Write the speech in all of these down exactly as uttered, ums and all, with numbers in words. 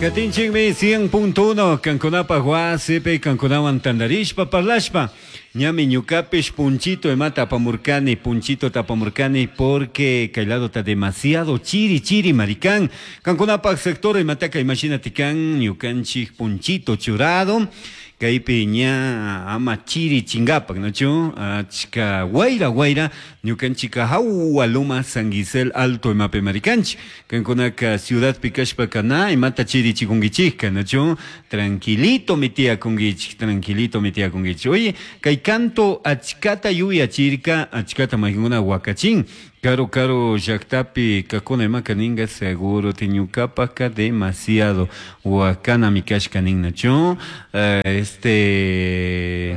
Katinchikmi cien punto uno kankunapaj wasipi kankunawan tantarishpa parlashpa ñami ñukapish punchito imata apamurkani, punchito tapamurkani porque kay ladota demasiado chiri chiri maricán. Kankunapaj sector imataka imagínate kan ñukanchik punchito churado kaypi ña ama chiri chingapak, ¿no? Achka wayra wayra ñukanchika hawa Loma San Gisel Alto imapi marikanchik. Kankunaka ciudadpi kashpaka na imata chiri chikunkichikka, ¿no? Tranquilito mi tiyakunkichik, tranquilito mi tiyakunkichik. Oye, kay canto achkata yuyachirka, achkata maykuna wakachin. Caro, caro, llaktapi kakuna imaka ninga seguro tiñukapaka demasiado wakana mi kashka ninnachu. Eh, este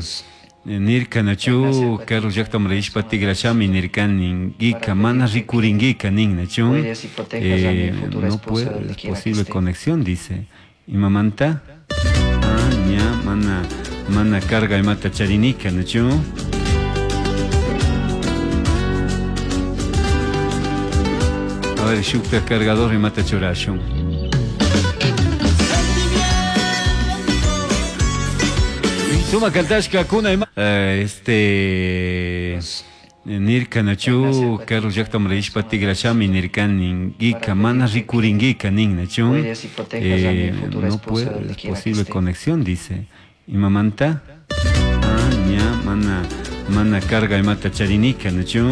nirka nachu caro llaktaman rishpa tigrashami nirka ningika mana rikuringika ninnachu. Cuides y protejas a mi Eh, futura no esposa puede, donde es quiera que posible esté. conexión, dice. Imamanta? Ah, ña, mana, mana carga imata charinika nachu. A ver, shukta cargador imata churashun. Suma kantashka kuna ima, eh, este nirka nachu karu llaktaman rishpa tigrashami nirka ningika mana rikuringika ninnachu. Cuides y protejas a mi Eh, futura no esposa puede, donde es quiera que posible esté. conexión, dice. Imamanta? Ah, ña, mana, mana carga imata charinika nachu.